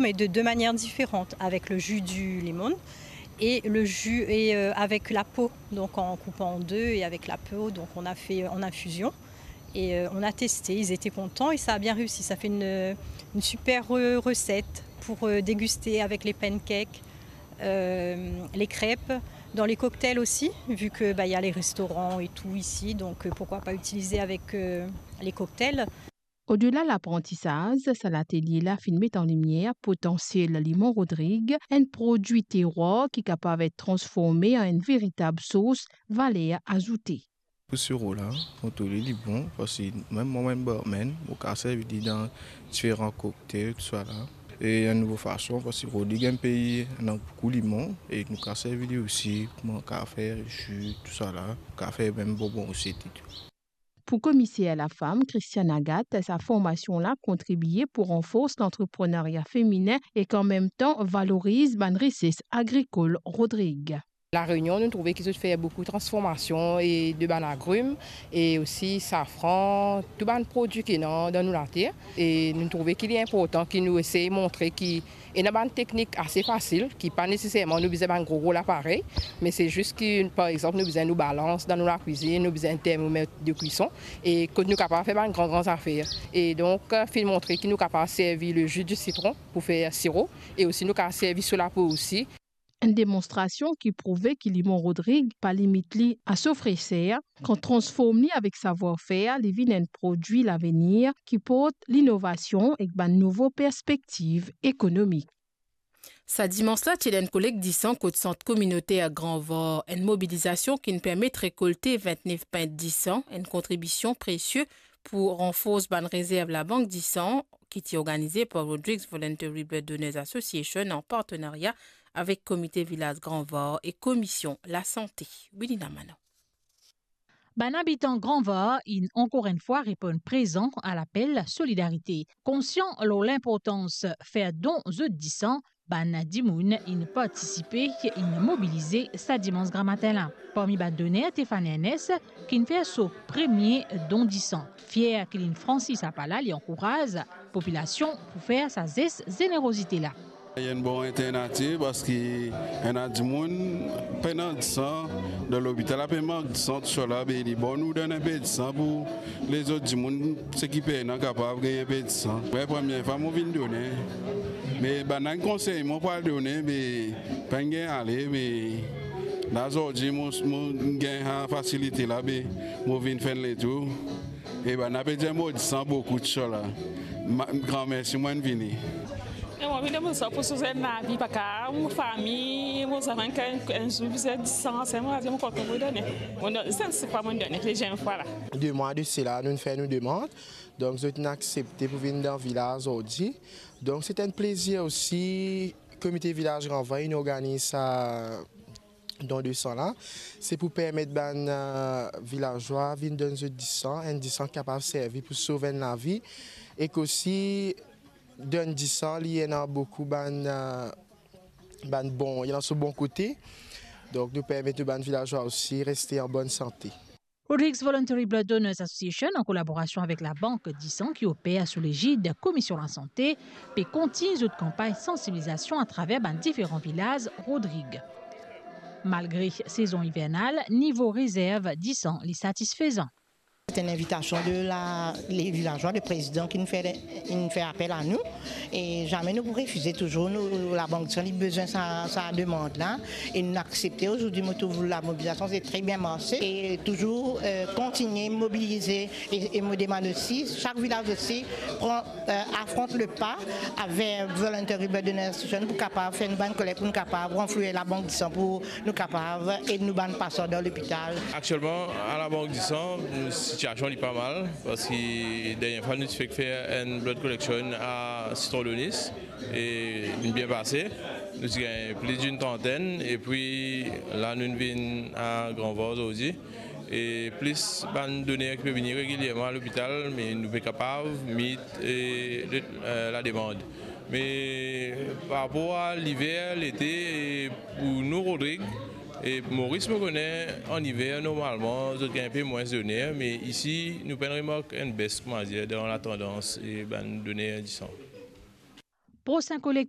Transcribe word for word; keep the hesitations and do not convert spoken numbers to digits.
Mais de deux manières différentes, avec le jus du limon et le jus et euh, avec la peau, donc en coupant en deux et avec la peau, donc on a fait en infusion. Et euh, on a testé, ils étaient contents et ça a bien réussi. Ça fait une, une super euh, recette pour euh, déguster avec les pancakes, euh, les crêpes, dans les cocktails aussi, vu que bah, il y a les restaurants et tout ici, donc euh, pourquoi pas utiliser avec euh, les cocktails. Odela laprantisaz, sa latelie la finn met an limier potansiel limon Rodrig, enn prodwi terwar ki kapav et transforme an enn veritab sos valer azoute. Pou siro la, kontrole li bon, parski mem mwa, mem barman, mo kapav servi li dan diferan cocktail, tousala. E enn nouvo fason, parski Rodrig enn pei ena boukou limon, e nou kapav servi li osi kouma kafe, ji, tousala, kafe, mem bonbon osi, etcetera. Pou komiser lafam, Christiane Agathe, sa formasion la kontribie pou ranfors lantreprenaria feminin ek an mem tan valoriz bann rises agrikol Rodrig. La Réunion, nou trouve ki zot fer boukou transformasion e de bann agrim e osi safran, tou bann prodwi ki ena dan nou later. E nou trouve ki li inportan ki nou esey montre ki ena bann teknik ase fasil, ki pa neseserman nou bizin bann gro, gro laparey, me se zis ki, par exanp, nou bizin nou balans dan nou lakwizinn, nou bizin termomet de kwison, e kot nou kapav fer bann gran, gran zafer. E donk, finn montre ki nou kapav servi le jus du citron pou fer siro, e osi nou kapav servi so lapo osi. Enn demonstrasion ki prouve ki limon Rodrig pa limit li a so freser, kan transform li avek savwar-fer, li vinn enn prodwi lavenir ki port linovasion ek bann nouvo perspektiv ekonomik. Sa dimans la ti ena enn kolekt disan kot Sant Kominoter Gran Var, enn mobilizasion ki'nn permet rekolte vintnef pint disan, enn kontribision presie pou ranfors bann rezerv Labank Disan, ki ti organize par Rodrigues Voluntary Blood Donors Association an partenaria avek Komite Vilaz Gran Var e Komisyon Lasante. Wilina Manon. Bann abitan Gran Var inn ankor enn fwa reponn prezan a lapel solidarite. Konsian lor linportans fer don zot disan, bann dimoun inn partisipe, inn mobilize sa dimans gramatin la. Parmi bann doner, Stéphane Ernest, ki'nn fer so premie don disan. Fier ki li'nn fransi sa pa la, li ankouraz popilasion pou fer sa zes zenerozite la. Li enn bon alternativ parski ena dimoun pena disan, dan lopital la pe mank disan, tousala, be li bon nou donn enpe disan pou lezot dimoun, seki pena, kapav gagn enpe disan. Mwa premie fwa mo vinn done, me bann la inn konsey mwa pou al done, me pa'nn gagn ale, me la zordi mo, mo gagn sa fasilite la, be mo vinn fer enn letour. E bann la pe dir mo disan boukou tousala. Ma, gran mersi, mo'nn vini. E mo vinn donn mo disan pou soz enn lavi, pa ka mo fami, mo zanfan, enn, enn zour bizin disan, se mo, mo kontan pou done. Mo donn, se, se fwa mo'nn done, deziem fwa la. De mwa de sela, nou'nn fer nou demann. Donk, zot inn aksepte pou vinn dan vilaz zordi. Donk, se enn plezir osi, Komite Vilaz Gran Var inn organiz sa don de san la, se pou permet bann, eh, vilazwa vinn donn zot disan, enn disan ki kapav servi pou sov enn lavi, ek osi donn disan, li ena boukou bann, eh, bann bon, li ena so bon kote. Donk, nou permet nou bann vilazwa osi reste an bonn sante. Rodrigues Voluntary Blood Donors Association, an kolaborasion avek Labank Disan ki oper sou legid Komisyon Lasante, pe kontign zot kanpagn sansibilizasion atraver bann diferan vilaz Rodrig. Malgre sezon ivernal, nivo rezerv disan li satisfezan. C'est une invitation de la, les villageois, le président qui nous fait, il nous fait appel à nous. E zame nou pou refize, touzour nou, Labank Disan li bizin sa, sa demann la, e nou aksepte. Ozordi mo trouv lamobilizasion se tre bien marse, e touzour, eh, kontigne mobilize, e, e mo demann osi, sak vilaz osi pran, eh, afront le pa avek Voluntary Blood Donors Association pou kapav fer nou bann kolekt, pou nou kapav ranflouye Labank Disan, pou nou kapav ed nou bann pasan dan lopital. Aktielman, a Labank Disan, sitiasion li pa mal, parski dernie fwa nou ti fek fer enn blood collection a Citron Daunis, e li bien pase. Nou ti gagn plis dinn trantenn, epi la nou vinn a Gran Var zordi. E plis bann doner ki pe vini regilierman a lopital, me nou pe kapav meet, e, le, eh, lademand. Me par rapor a liver, lete, e pou nou Rodrig, e Moris, mo kone an iver normalman zot gagn enpe mwins doner, me isi nou pa'nn remark enn bes, kouma dir, dan latandans e bann doner disan. Prosin kolek